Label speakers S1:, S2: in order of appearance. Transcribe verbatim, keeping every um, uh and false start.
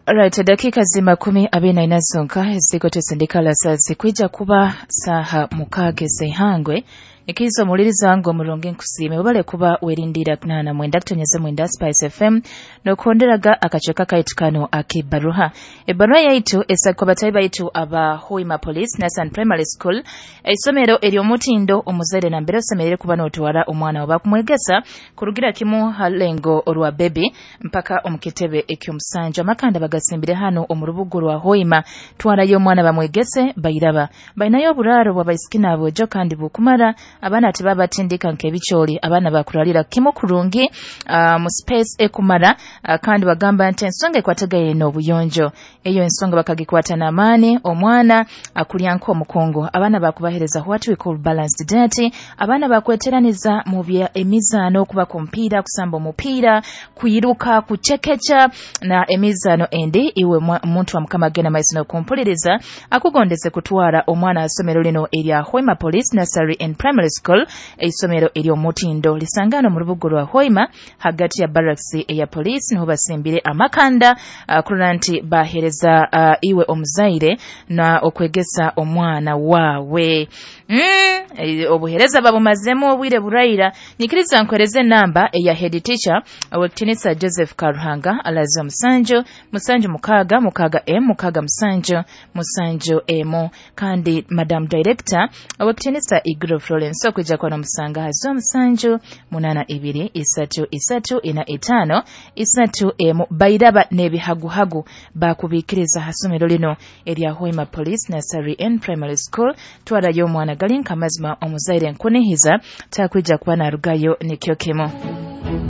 S1: Right, dakika zi makumi abiri na ina zonka ezikotesindikala saa zikwija kuba saha mukaaga ez'eihangwe. Ikiriza omuwuliriza wange omurungi, nkusiime, webale kuba werindira nana mwenda kutonyeza mwenda Spice F M, nokuhonderaga akacweka kaitu kano ak'ebbaruha. Ebbaruha yaitu esakwa batayi baitu aba Hoima Police Nursery Primary School, eisomero ery'omutindo omuzaire nambere osemerere kuba n'otwara omwana wa bakumwegesa kurugira kimu ha lengo orwa baby mpaka omu kitebe eky'omusanju. Amakanda bagasimbire hano omu rubuga rwa Hoima. Twarayo omwana bamwegese, bairaba bainayo oburaaro bw'abaisiki n'aboojo kandi bukumara. Abaana tibabatindika nk'ebikyoli, abaana bakuralira kimu kurungi uh, mu space ekumara. uh, kandi bagamba nti ensonga ekwatagaine n'obuyonjo, eyo ensonga bakagikwata n'amaani. Omwana akulya nk'omukungu, abaana bakubahereza what we call balanced diet. Abaana bakweteraniza mu bya emizaano, okuba ku mupiira, kusamba omupiira, kwiruka, kucekeca na emizaano endi. Iwe muntu wa Mukama agenda maiso n'okumpuliriza, akugondeze kutwara omwana asomero lino erya Hoima Police Nursery and Primary School, eisomero ery'omutindo lisangano mu rubuga rwa Hoima hagati ya barracks eya police, niho basimbire amakanda uh, kurora nti bahereza uh, iwe omuzaire na okwegesa omwana wawe. mm, obuhereza babumazemu obwire buraira. Nyikiriza nkwereze namba eya head teacher, Owekitinisa Joseph Karuhanga, alazo musanju musanju mukaaga mukaaga m mukaaga musanju musanju emu, kandi madam director, Owekitinisa Igro Florence, okwijja kuba nomusanga hazo musanju munana ibiri isatu isatu ina itaano isatu emu. Bairaba n'ebihaguhagu bakubikiriza hasomero lino erya Hoima Police Nursery and Primary School. Twarayo omwana, gali nkamazima omuzaire nkunihiza takwija kuba narugayo nikyo kimu.